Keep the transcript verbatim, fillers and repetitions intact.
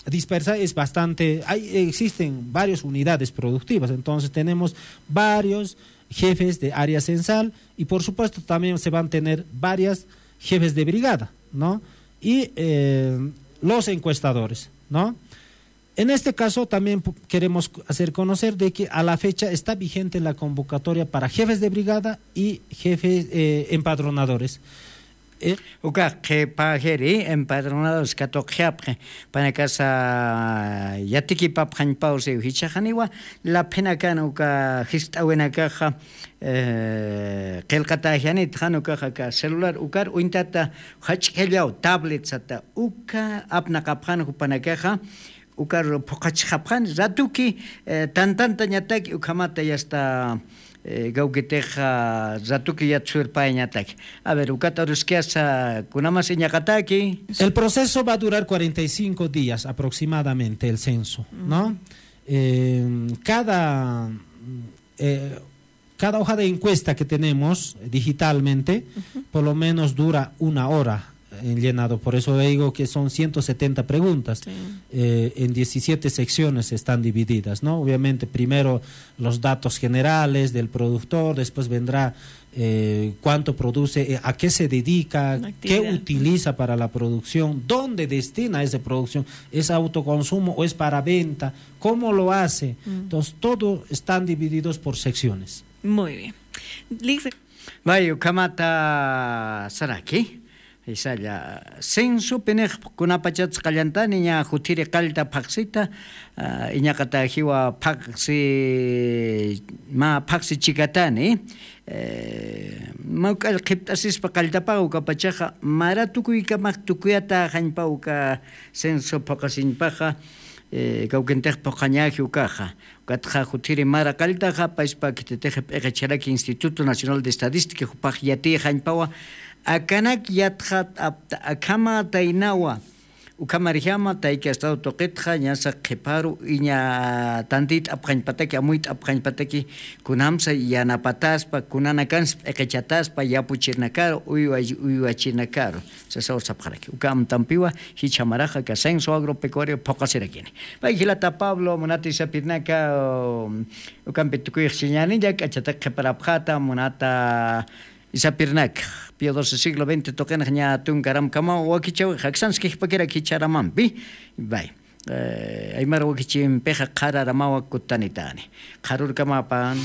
dispersa es bastante, hay, existen varias unidades productivas, entonces tenemos varios jefes de área censal y por supuesto también se van a tener varias jefes de brigada, ¿no? Y eh, los encuestadores, ¿no? En este caso también queremos hacer conocer de que a la fecha está vigente la convocatoria para jefes de brigada y jefes eh, empadronadores. Eh, Uka qhipa jiri empadronados katuqjapqi panakasa yatikipapxañpaw siw jichhaxaniwa laphinakana uka jist'awinakaxa qillqatäjianit jan ukaxa aka celular ukar uñtata jach'khallaw tablet sata uka apnaqapxan jupanakaxa ukar phuqhachxapxani ratuki tantantañataki ukhamata yasta kawkitixa ratuki yatsurpayañataki. A ver ukat aruskiyasa kunamas iñaqataki. El proceso va a durar cuarenta y cinco días aproximadamente el censo, ¿no? Eh, cada eh, cada hoja de encuesta que tenemos digitalmente, por lo menos dura una hora en llenado. Por eso digo que son ciento setenta preguntas. Eh, en diecisiete secciones están divididas, ¿no? Obviamente, primero los datos generales del productor, después vendrá eh, cuánto produce, eh, a qué se dedica, qué utiliza para la producción, dónde destina esa producción, es autoconsumo o es para venta, cómo lo hace. Entonces, todos están divididos por secciones. Muy bien. Lice. Vay, ukhamata saraki. Isalla, censo pinix kunapachatsa qallantani ña jutiri qallta phaqsita, iñaqatajiwa phaqsi, mä phaqsi chikatani. Mä uk'all qhipt'asispa qalltapaxa ukapachaxa mara tukuykamax tukuyata jañpa uka censo phuqasiñpaxa kawkintix phuqañaji ukaxa. Ukatxa jutiri mara qalltaxa payspa khititix p'iqicharaki Instituto Nacional de Estadística jupax yatiy jañpawa akanak yatxat apta akhama taynawa. Ukhamarjama tayki estado tuqitxa ñasa qhiparu iña tantiyt'apxañpataki amuyt'apxañpataki kunamsa yanapataspa kunanakans p'iqichataspa yapuchirnakaru uywachirnakaru. Sasaw sapxaraki uka amtampiwa jichha maraxa aka censo agropecuario phuqasirakini. Pay jilata pablo munata isapirnaka ukampi tukuyxchiñani llak'achatak qhiparapxata munata isapirnaka pio doce siglo veinte tuqinx ña tunkaramkamaw wakichawix aksanskixpakirak jichharamampi. Bay aymar wakichimpixa qhararamawa kutanitani. Qharurkamapan.